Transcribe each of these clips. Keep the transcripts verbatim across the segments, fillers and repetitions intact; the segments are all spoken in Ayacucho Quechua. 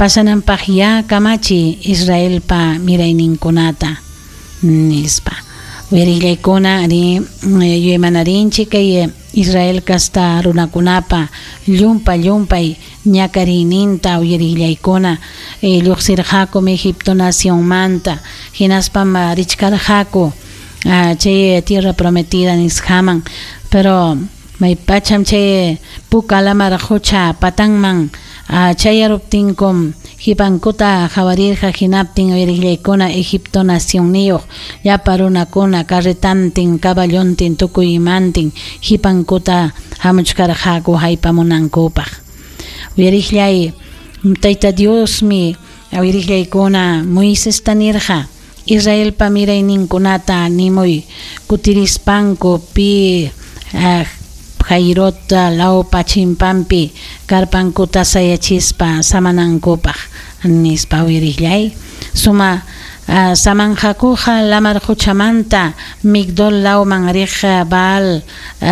Pasananpaq ya kamachi Israelpa mirayninkunata nispa. Uyarillaykuna ari yuymanarinchik kay Israel kasta runakunapa llumpa llumpay ñakariyninta uyarillaykuna lluqsirqakum Egipto nacionmanta hinaspam richkarqaku chay tierra prometida nisqaman, pero maypacham chay Puka Lamar qucha patanman chayaruptinkum hipankuta qawarirqa hinaptin uyarillaykuna Egipto nacionniyuq llapa runakuna carretantin caballontin tukuy imantin hipankuta hamuchkarqaku haypamunankupaq. Uyarillay Tayta Diosmi uyarillaykuna Moisesta nirqa Israelpa mirayninkunata nimuy kutirispanku pi Jairot lawpa chimpampi karpankuta sayachispa samanankupaq nispa uyarillay. Suma samanqakuqa lamar quchamanta Migdol lawman riq Baal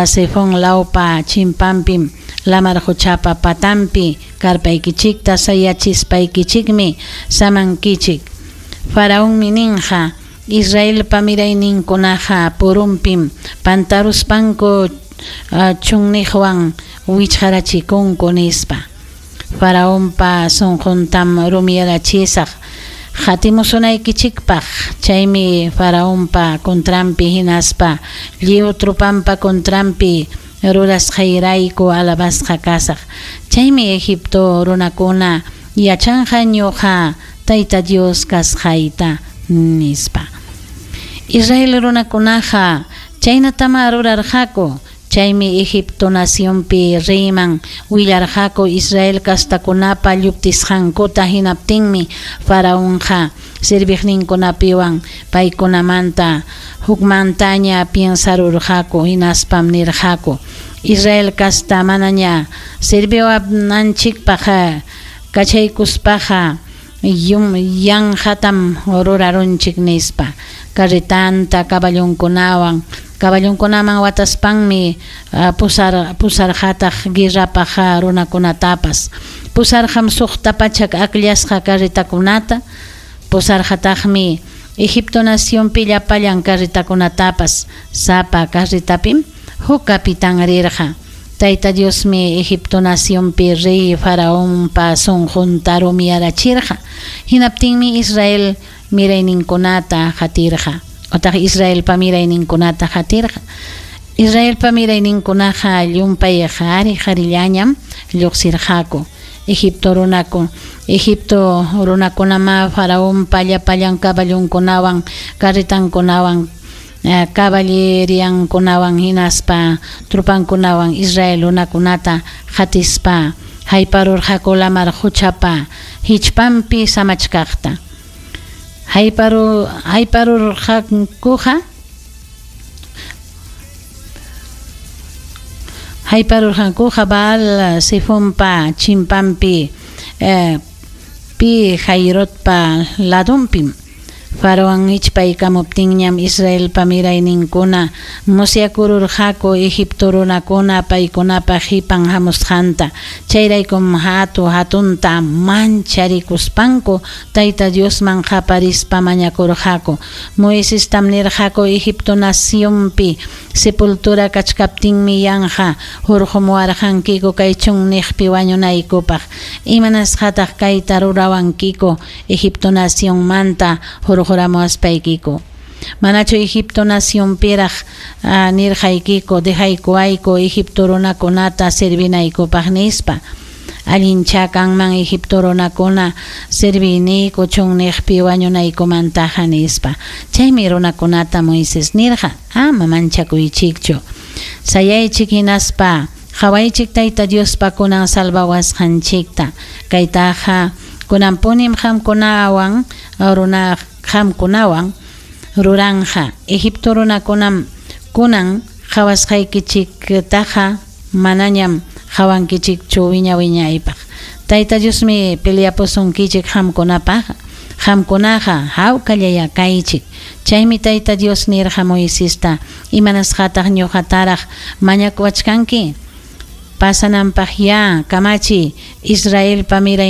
Sefón lawpa chimpampim lamar quchapa patampi karpaykichikta sayachispaykichikmi samankichik. Faraonmi ninqa Israelpa mirayninkunaqa purumpim pantaruspanku chunniqwan wichqarachikunku nispa. Faraonpa sunquntam rumiyarachisaq qatimusunaykichikpaq, chaymi Faraonpa contranpi hinaspa lliw trupanpa contranpi rurasqayrayku alabasqa kasaq. Chaymi Egipto runakuna yachanqa ñuqa Tayta Dios kasqayta nispa. Israel runakunaqa chaynatama rurarqaku. Chaymi Egipto nacionpi reyman willarqaku Israel kastakunapa lluptisqankuta hinaptinmi Faraonqa serviqninkunapiwan paykunamanta hukmantaña piensarurqaku hinaspam nirqaku Israel kasta manaña serviwananchikpaq kachaykuspaqa yanqatam rurarunchik nispa. Carretanta caballonkunawan caballonkunaman wataspanmi pusar pusarqataq guerrapaq runakunatapas. Pusarqam suqta pachak akllasqa carretakunata, pusarqataqmi Egipto nacionpi llapallan carretakunatapas. Sapa carretapim huk capitán rirqa. Tayta Diosmi Egipto nacionpi rey Faraonpa sunqunta rumiyarachirqa. Hinaptinmi Israel mirayninkunata qatirqa. Otaq Israelpa mirayninkunata qatirqa. Israelpa mirayninkunaqa llumpay qhari qharillañam lluqsirqaku. Egipto runaku Egipto runakunama Faraonpa llapallan caballonkunawan carretankunawan caballeriankunawan hinaspa trupankunawan Israel runakunata qatispa hayparurqaku lamar quchapa hichpanpi samachkaqta. Hayparu hayparurqankuqa hayparurqankuqa Baal Sefonpa chimpampi eh, pi Jairotpa ladunpim. Faraón hichpaykamuptinñam Israelpa mirayninkuna musyakururqaku Egipto runakuna paykunapa qipan hamusqanta. Chayraykum hatu hatunta mancharikuspanku Tayta Diosman qaparispa mañakurqaku. Moisestam nirqaku Egipto nacionpi sepultura kachkaptinmi yanqa hurqumuwarqankiku kay chunniqpi wañunaykupaq. Imanasqataq kayta rurawankiku Egipto nacionmanta hurquramuwaspaykiku. Manachu Egipto nacionpiraq nirqaykiku dejaykuwayku Egipto runakunata servinaykupaq nispa. Allincha kanman Egipto runakuna serviniyku chunniqpi wañunaykumantaqa nispa. Chaymi runakunata Moisés nirqa ama manchakuychikchu. Sayaychik hinaspa qawaychik Tayta Diospa kunan salvawasqanchikta. Kaytaqa kunanpunim qamkunawan runa qamkunawan ruranja. Egipto runakunam kunan qawasqaykichiktaqa manañam qawankichikchu wiña wiñaypaq. Tayta Diosmi peleapusunkichik qamkunapaq. Qamkunaqa hawkallaya kaychik. Chaymi Tayta Dios nirqa Moisesta imanasqataq ñuqataraq mañakuwachkanki. Pasananpaq ya kamachi Israelpa miray